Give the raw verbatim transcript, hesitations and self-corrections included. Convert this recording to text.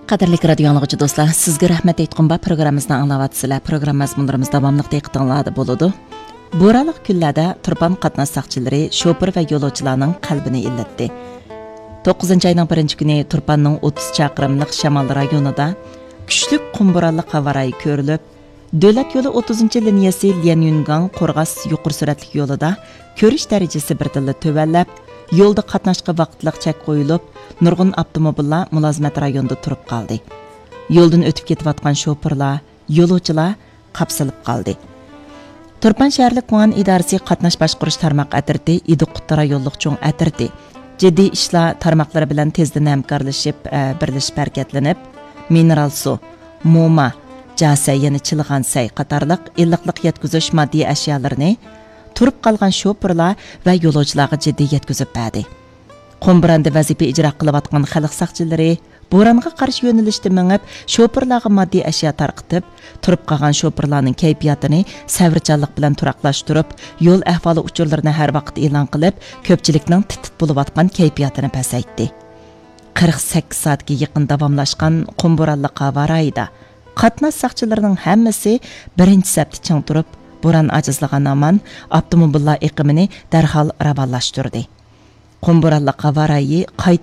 قەدىرلىك رادىيو ئاڭلىغۇچى دوستلار، سىزگە رەھمەت ئېيتقۇم بار، پروگراممىمىزنى ئاڭلاۋاتىسىلەر. پروگرامما مەزمۇنلىرىمىز داۋاملىق دىققىتىڭلاردا بولىدۇ. بورانلىق كۈنلەردە تۇرپان قاتناش ساقچىلىرى شوپۇر ۋە يولۇچىلارنىڭ قەلبىنى ئىللىتتى. توققۇزىنچى ئاينىڭ بىرىنچى كۈنى تۇرپاننىڭ ئوتتۇز چاقىرىملىق شامال رايونىدا كۈچلۈك قۇم بورانلىق ھاۋا رايى كۆرۈلۈپ، دۆلەت يولى ئوتتۇزىنچى لىنىيەسى ليەنيۈنگاڭ قورغاس يۇقىرى سۈرئەتلىك يولىدا كۆرۈش دەرىجىسى بىردىنلا تۆۋەنلەپ، يولدا قاتناشقا ۋاقىتلىق چەك قويۇلۇپ، نۇرغۇن ئاپتوموبىللار مۇلازىمەت رايونىدا تۇرۇپ قالدى. يولدىن ئۆتۈپ كېتىۋاتقان شوپۇرلار، يولۇچىلار قاپسىلىپ قالدى. تۇرپان شەھەرلىك گۇڭئەن ئىدارىسى قاتناش باشقۇرۇش تارماق ئەترىتى ئىدىقۇتتا رايونلۇق چوڭ ئەترىتى جىددىي ئىشلار تارماقلىرى بىلەن تېزدىن ھەمكارلىشىپ، ئە، بىرلىشىپ ھەرىكەتلىنىپ، مىنېرال سۇ، موما، جاسەي، يەنە چىلىغان سەي قاتارلىق ئىللىقلىق يەتكۈزۈش ماددىي ئەشيالىرىنى تۇرۇپ قالغان شوپۇرلار ۋە يولۇچىلارغا جىددىي يەتكۈزۈپ بەردى. قۇم بوراندا ۋەزىپە ئىجرا قىلىۋاتقان خەلق ساقچىلىرى بورانغا قارشى يۆنىلىشتە مېڭىپ، شوپۇرلارغا ماددىي ئەشيا تارقىتىپ، تۇرۇپ قالغان شوپۇرلارنىڭ كەيپىياتىنى سەۋرچانلىق بىلەن تۇراقلاشتۇرۇپ، يول ئەھۋالى ئۇچۇرلىرىنى ھەر ۋاقىت ئېلان قىلىپ، كۆپچىلىكنىڭ تىت-تىت بولۇۋاتقان كەيپىياتىنى پەسەيتتى. قىرىق سەككىز سائەتكە يېقىن داۋاملاشقان قۇم بورانلىق ھاۋا رايىدا قاتناش ساقچىلىرىنىڭ ھەممىسى بىرىنچى سەپتە چىڭ تۇرۇپ، بوران ئاجىزلىغان ھامان ئاپتوموبىللار ئېقىمىنى دەرھال راۋانلاشتۇردى. قۇم بورانلىق ھاۋا رايى قايتا